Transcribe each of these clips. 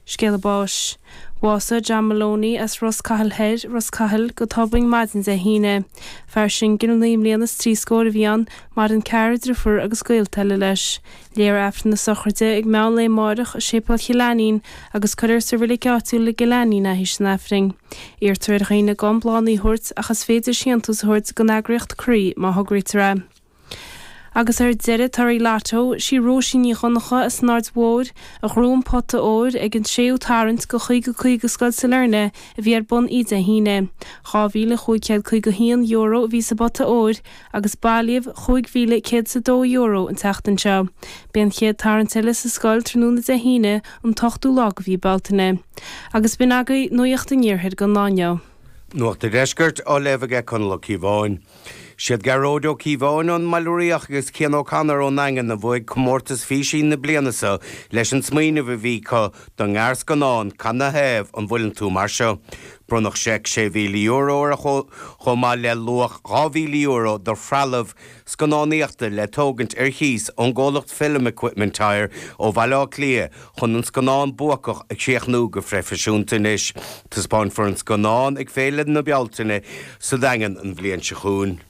Scéala báis. Bhásaigh John Maloney as Ros Cathail Thoir, Ros Cathail, go tobann maidin Dé hAoine. Fear singil 9 mbliana is 3 scór a bhí ann, maireann cara, driofúr agus gaolta eile leis. Léifear Aifreann na sochraide ag meán lae amáireach i Séipéal Chill Ainnín agus cuirfear sa reilig áitiúil i gCill Ainnín é théis an Aifrinn. Iarrtar ar dhaoine gan bláthanna a thabhairt ach is féidir síntiús a thabhairt don eagraíocht Croí má thograítear é. Agus ar deireadh, torthaí Lotto, sí Róisín Ní Dhonnchadha as an Aird Mhóir a ghnóthaigh an pota óir ag an tséú tarraingt go 50 50 Scoil Sailearna a bhí ar bun oíche Dé hAoine. €2,551 a bhí sa bpota óir agus bailíodh €5,102 an tseachtain seo. Beidh an chéad tarraingt eile sa scoil tráthnóna Dé hAoine an t-ochtú lá de mhí Bealtaine. Agus b'in agaibh Nuacht an Iarthair don lá inniu. Nuacht an Deiscirt á léamh aige Conall Ó Cíobháin. Siad Gearóid Ó Cíobháin ón mBaile Riach agus Cian O'Connor ón nDaingean a bhuaigh comórtas físe na bliana seo leis an smaoineamh a bhí acu don ngearrscannán 'Canathaobh an bhfuileann tú mar seo? Bronnadh seic €6,000 orthu chomh maith le luach €2,000 do threalamh scannánaíochta le tógaint ar chíos ón gcomhlacht Film Equipment Hire ó Bhaile Átha Cliath chun an scannán buacach a chríochnú go phroifisiúnta anois. Taispeánfar an scannán ag Féile na Bealtaine sa Daingean an bhliain seo chugainn.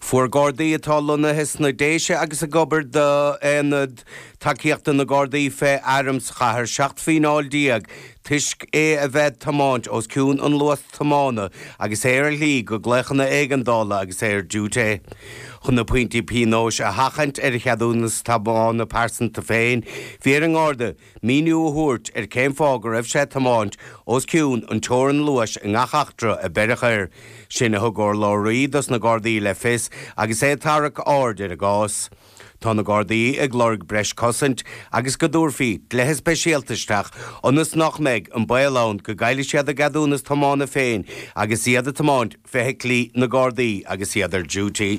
Fuair Gardaí atá lonnaithe sna Déise agus ag obair d'Aonad Tacaíochta na Gardaí fé Airm sa chathair 17 fíneáil toisc é a bheith ag tiomáint os cionn an luas tiomána agus é ar a shlí go glaochanna éigeandála agus é ar diúité. Chun na pointí pionóis a sheachaint ar a cheadúnas tiomána pearsanta féin, bhí ar an nGarda míniú a thabhairt ar cén fáth go raibh sé ag tiomáint os cionn an teorann luais i ngach eachtra a beireadh air. Sin a thug urlabhraí dos na Gardaí le fios agus é ag tarrac aird ar an gcás. Tá na Gardaí ag lorg breis cosaint agus go dtabharfaí dlíthe speisialta isteach ionas nach mbeidh an baol ann go gcaillfidh siad a gceadúnas tiomána féin agus iad ag tiomáint feithiclí na Gardaí agus iad ar duty.